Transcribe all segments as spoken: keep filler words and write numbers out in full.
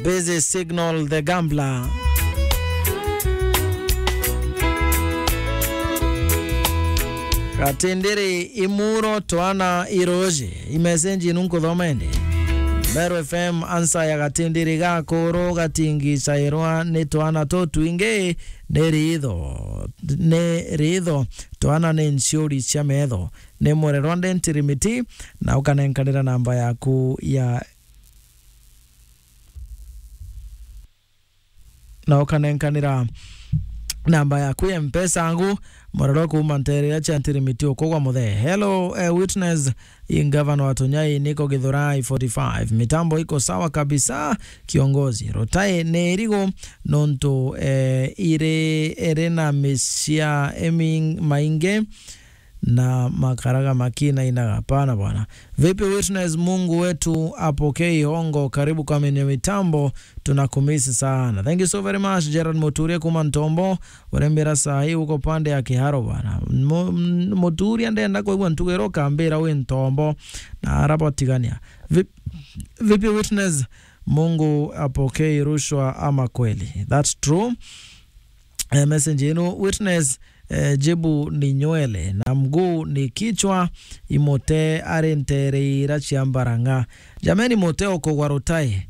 Busy Signal the Gambler. Gatindiri imuro twana iroje. Imesenji inu nkuthoma indi. Meru F M ansa ya gatindiri gakuru gatingicairwa ni twana tutwingi ni ritho. Ni ritho. Twana ni nciuri cia metho. Ni murerwa ndentirimiti na ukanenkanira namba yaku ya na ukanenkanira namba yaku ya Mpesa angu, murero kuuma ntere iria cia Ntirimiti ukugwa muthe. Hello, eh, Witness, i ngavana wa Tunyai niko Githurai forty-five. Mitambo iko sawa kabisa, kiongozi. Rutai ni irigu nontu, eh, iri, iri na misia emi maingi na makaraga makinainaga. Hapana bwana. Vipi Witness, Mungu wetu apokee ihongo. Karibu kwa menye mitambo, tunakumisi sana. Thank you so very much, Gerald Muturia kuma Ntombo. Urembera saa hii uko pande ya Kiharo bwana. Mu-, m-, Muturia ndenda kuigua ntugiro ukambira wi Ntombo. Na arabo tigania. Vip-, vipi Witness, Mungu apokee rushwa ama kweli? That's true. Eh, message ino, Witness, eh, jibu ni nywele na mguu ni kichwa, imute ari ntere ira cia mbarang'a. Jameni, mute ukugwa rutai,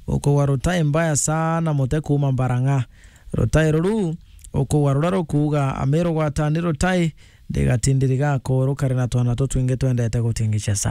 ukugwa rutai mbaya sana, mute kuuma mbarang'a. Rutai ruru ukugwa ruria rukuuga, Amiru gwatani rutai, ndigatindiriga akuru kari na twana tutwingi twendete gutingicia sana.